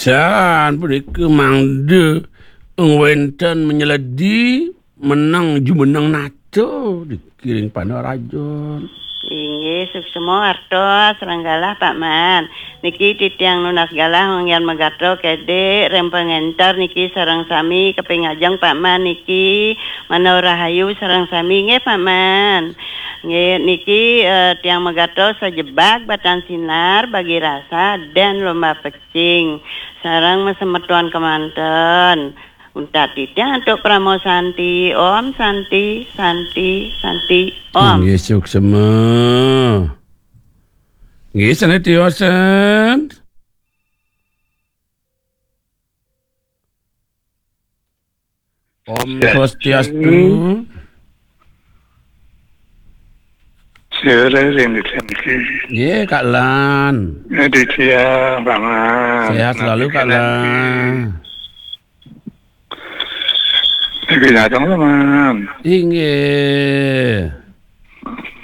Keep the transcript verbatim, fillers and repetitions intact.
Wénten punika mangda wénten menyeledi meneng jumeneng nata dikiring Pandaraja. Inggih, suksma wartos sareng galah, Pak Man. Niki titiang nunas galah manggihan magatra kedik ring pangenter niki sareng sami kaping ajeng, Pak Man, niki manawi rahayu sareng sami nggih, Pak Man. Nggih, niki, eh, tiang magatra sajebag batan sinar bagi rasa dan lomba pecing sareng masemeton kemanten. Untat titiang antuk Parama Santi. Om Santi, Santi, Santi, Om. Inggih, suksma. Nggih, sané tiosan. Om Swastiastu. Sore ring niki. Nggih, Kak Lan. Aditya, Pak Man. Sehat selalu, Kak Lan. Niki datang, Pak Man. Inggih.